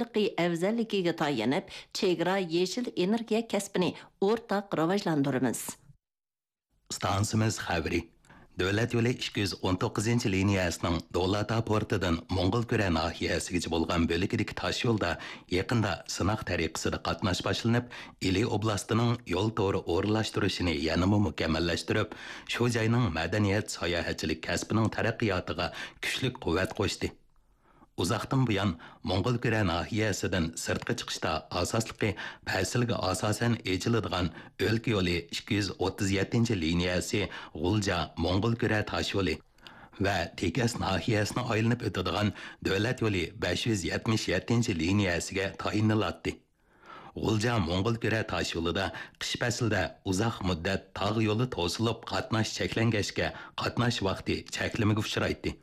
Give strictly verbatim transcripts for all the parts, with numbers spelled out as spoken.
ئەۋزەللىكىگە تايىنىپ، چېگرا يېشىل ئېنېرگىيە كەسپىنى ئورتاق راۋاجلاندۇرىمىز. ئىستانسىمىز خەۋىرى. دۆلەت يولى ئىككى يۈز ئون توققۇزىنچى لىنىيەسىنىڭ دولاتا پورتىدىن موڭغۇلكۈرە ناھىيەسىگىچە بولغان بۆلىكىدىكى تاشيولدا يېقىندا سىناق تەرىقىسىدە قاتناش باشلىنىپ، ئىلى ئوبلاستىنىڭ يول تورى ئورۇنلاشتۇرۇشىنى يەنىمۇ مۇكەممەللەشتۈرۈپ، شۇ جاينىڭ مەدەنىيەت، ساياھەتچىلىك كەسپىنىڭ تەرەققىياتىغا كۈچلۈك قۇۋۋەت قوشتى. ئۇزاقتىن بۇيان موڭغۇلكۈرە ناھىيەسىدىن سىرتقا چىقىشتا ئاساسلىقى پەسىلگە ئاساسەن ئېچىلىدىغان ئۆلكە يولى ئىككى يۈز ئوتتۇز يەتتىنچى لىنىيەسى غۇلجا موڭغۇلكۈرە تاشيولى ۋە تېكەس ناھىيەسىنى ئايلىنىپ ئۆتىدىغان دۆلەت يولى بەش يۈز يەتمىش يەتتىنچى لىنىيەسىگە تايىنىلاتتى. غۇلجا موڭغۇلكۈرە تاشيولىدا قىش پەسلىدە ئۇزاق مۇددەت تاغ يولى توسۇلۇپ، قاتناش چەكلەنگەچكە، قاتناش ۋاقتى چەكلىمىگە ئۇچرايتتى.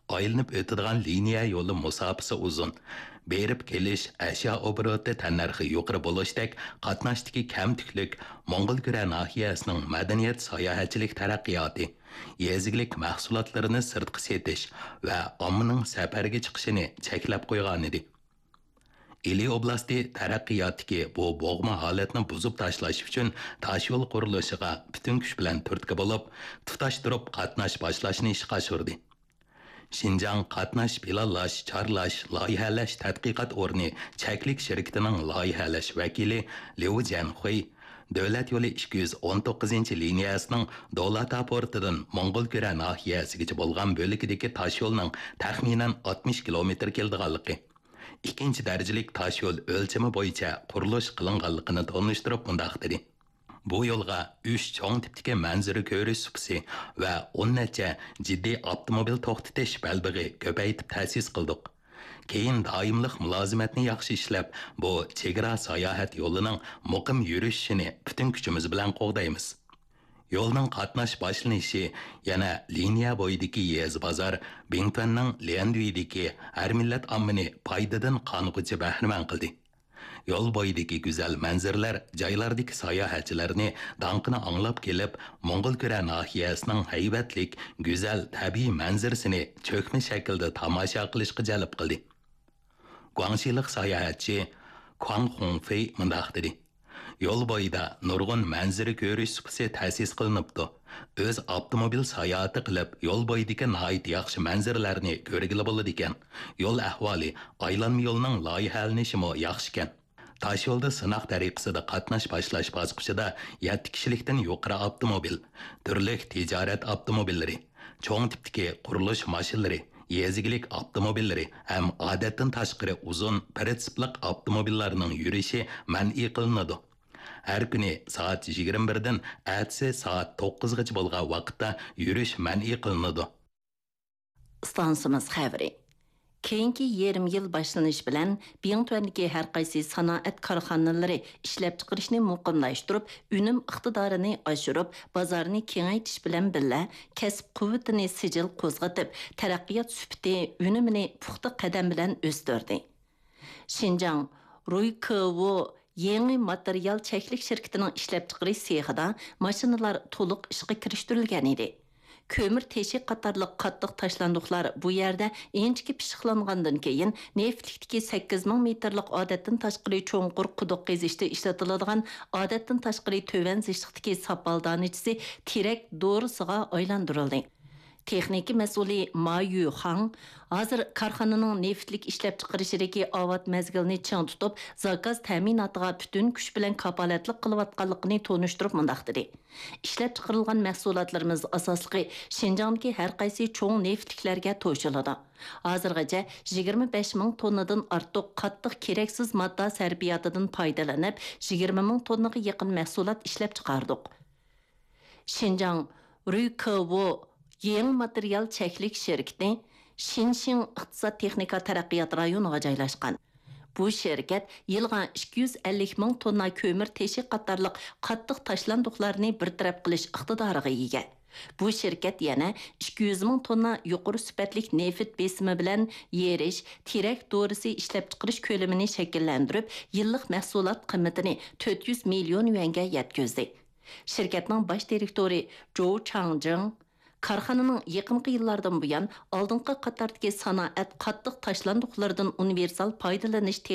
ئايلىنىپ ئۆتىدىغان لىنىيە يولى مۇساپىسى ئۇزۇن. بېرىپ كېلىش، ئەشيا ئوبوروتى تەننەرخى يۇقىرى بولۇشتەك قاتناشتىكى كەمتۈكلۈك موڭغۇلكۈرە ناھىيەسىنىڭ مەدەنىيەت، ساياھەتچىلىك تەرەققىياتى، يېزا ئىگىلىك مەھسۇلاتلىرىنى سىرتقا سېتىش ۋە ئاممىنىڭ سەپەرگە چىقىشىنى چەكلەپ قويغانىدى. ئىلى ئوبلاستى تەرەققىياتتىكى بۇ بوغما ھالەتنى بۇزۇپ تاشلاش ئۈچۈن تاشيول قۇرۇلۇشىغا پۈتۈن كۈچ بىلەن تۈرتكە بولۇپ، تۇتاشتۇرۇپ قاتناش باشلاشنى ئىشقا ئاشۇردى. شىنجاڭ قاتناش پىلانلاش، چارلاش، لايىھەلەش تەتقىقات ئورنى چەكلىك شىركىتىنىڭ لايىھەلەش ۋەكىلى ليۇ جيەنخۇي دۆلەت يولى ئىككى يۈز ئون توققۇزىنچى لىنىيەسىنىڭ دولاتا پورتىدىن موڭغۇلكۈرە ناھىيەسىگىچە بولغان بۆلىكىدىكى تاشيولنىڭ تەخمىنەن ئاتمىش كىلومېتىر كېلىدىغانلىقى، ئىككىنچى دەرىجىلىك تاشيول ئۆلچىمى بويىچە قۇرۇلۇش قىلىنغانلىقىنى تونۇشتۇرۇپ مۇنداق دېدى: بۇ يولغا ئۈچ چوڭ تىپتىكى مەنزىرە كۆرۈش سۇپىسى ۋە ئون نەچچە جىددىي ئاپتوموبىل توختىتىش بەلبېغى كۆپەيتىپ تەسىس قىلدۇق. كېيىن دائىملىق مۇلازىمەتنى ياخشى ئىشلەپ، بۇ چېگرا ساياھەت يولىنىڭ مۇقىم يۈرۈشۈشىنى پۈتۈن كۈچىمىز بىلەن قوغدايمىز. يولنىڭ قاتناش باشلىنىشى يەنە لىنىيە بويىدىكى يېزا بازار، بىڭتۈەننىڭ ليەندۈيدىكى ھەر مىللەت ئاممىنى پايدىدىن قانغۇچە بەھرىمەن قىلدى. يول بويىدىكى گۈزەل مەنزىرىلەر جايلاردىكى ساياھەتچىلەرنى داڭقىنى ئاڭلاپ كېلىپ، موڭغۇلكۈرە ناھىيەسىنىڭ ھەيۋەتلىك، گۈزەل تەبىئىي مەنزىرىسىنى چۆكمە شەكىلدە تاماشا قىلىشقا جەلپ قىلدى. گۇاڭشىلىق ساياھەتچى كۇاڭ خۇڭفېي مۇنداق دېدى: يول بويىدا نۇرغۇن مەنزىرە كۆرۈش سۇپىسى تەسىس قىلىنىپتۇ. ئۆز ئاپتوموبىل ساياھىتى قىلىپ، يول بويىدىكى ناھايىتى ياخشى مەنزىرىلەرنى كۆرگىلى بولىدىكەن. يول ئەھۋالى، ئايلانما يولنىڭ لايىھەلىنىشىمۇ ياخشىكەن. تاشيولدا سىناق تەرىقىسىدە قاتناش باشلاش باسقۇچىدا يەتتە كىشىلىكتىن يۇقىرى ئاپتوموبىل، تۈرلۈك تىجارەت ئاپتوموبىللىرى، چوڭ تىپتىكى قۇرۇلۇش ماشىنىلىرى، يېزا ئىگىلىك ئاپتوموبىللىرى ھەم ئادەتتىن تاشقىرى ئۇزۇن پىرىتسىپلىق ئاپتوموبىللارنىڭ يۈرۈشى مەنئى قىلىنىدۇ. ھەر كۈنى سائەت يىگىرمە بىردىن ئەتىسى سائەت توققۇزغىچە بولغان ۋاقىتتا يۈرۈش مەنئى قىلىنىدۇ. ئىستانسىمىز خەۋىرى. كېيىنكى يېرىم يىل باشلىنىش بىلەن بىڭتۈەندىكى ھەر قايسى سانائەت كارخانىلىرى ئىشلەپچىقىرىشنى مۇقىملاشتۇرۇپ، ئۈنۈم ئىقتىدارىنى ئاشۇرۇپ، بازارنى كېڭەيتىش بىلەن بىللە، كەسىپ قۇۋۋىتىنى سىجىل قوزغىتىپ، تەرەققىيات سۈپىتى، ئۈنۈمىنى پۇختا قەدەم بىلەن ئۆستۈردى. شىنجاڭ رۇيكېۋو يېڭى ماتېرىيال چەكلىك شىركىتىنىڭ ئىشلەپچىقىرىش سېخىدا ماشىنىلار تولۇق ئىشقا كىرىشتۈرۈلگەن ئىدى. كۆمۈر تېشى قاتارلىق قاتتىق تاشلاندۇقلار بۇ يەردە ئىنچىكە پىششىقلانغاندىن كېيىن، نېفىتلىكتىكى سەككىز مىڭ مېتىرلىق ئادەتتىن تاشقىرى چوڭقۇر قۇدۇق قېزىشتا ئىشلىتىلىدىغان ئادەتتىن تاشقىرى تۆۋەن زىچلىقتىكى ساپال دانىچىسى تېرەك دورىسىغا ئايلاندۇرۇلدى. تېخنىكا مەسئۇلى ما يۈخاڭ ھازىر كارخانىنىڭ نېفىتلىك ئىشلەپچىقىرىشىدىكى ئاۋات مەزگىلىنى چىڭ تۇتۇپ، زاكاز تەمىناتىغا پۈتۈن كۈچ بىلەن كاپالەتلىك قىلىۋاتقانلىقىنى تونۇشتۇرۇپ مۇنداق دېدى: ئىشلەپچىقىرىلغان مەھسۇلاتلىرىمىز ئاساسلىقى شىنجاڭدىكى ھەر قايسى چوڭ نېفىتلىكلەرگە توشۇلىدۇ. ھازىرغىچە يىگىرمە بەش مىڭ توننىدىن ئارتۇق قاتتىق كېرەكسىز ماددا سەرپىياتىدىن پايدىلىنىپ، يىگىرمە مىڭ توننىغا يېقىن مەھسۇلات ئىشلەپچىقاردۇق. شىنجاڭ رۈيكېۋو يېڭى ماتېرىيال چەكلىك شىركىتى شىنشىڭ ئىقتىساد تېخنىكا تەرەققىيات رايونىغا جايلاشقان. بۇ شىركەت يىلغا ئىككى يۈز ئەللىك مىڭ توننا كۆمۈر تېشى قاتارلىق قاتتىق تاشلاندۇقلارنى بىر تەرەپ قىلىش ئىقتىدارىغا ئىگە. بۇ شىركەت يەنە ئىككى يۈز مىڭ توننا يۇقىرى سۈپەتلىك نېفىت بېسىمى بىلەن يېرىش، تېرەك دورىسى ئىشلەپچىقىرىش كۆلىمىنى شەكىللەندۈرۈپ، يىللىق مەھسۇلات قىممىتىنى تۆت يۈز مىليون يۈەنگە يەتكۈزدى. شىركەتنىڭ باش دىرېكتورى جوۋ چاڭجىڭ كارخانىنىڭ يېقىنقى يىللاردىن بۇيان ئالدىنقى قاتاردىكى سانائەت قاتتىق تاشلاندۇقلىرىدىن ئۇنىۋېرسال پايدىلىنىش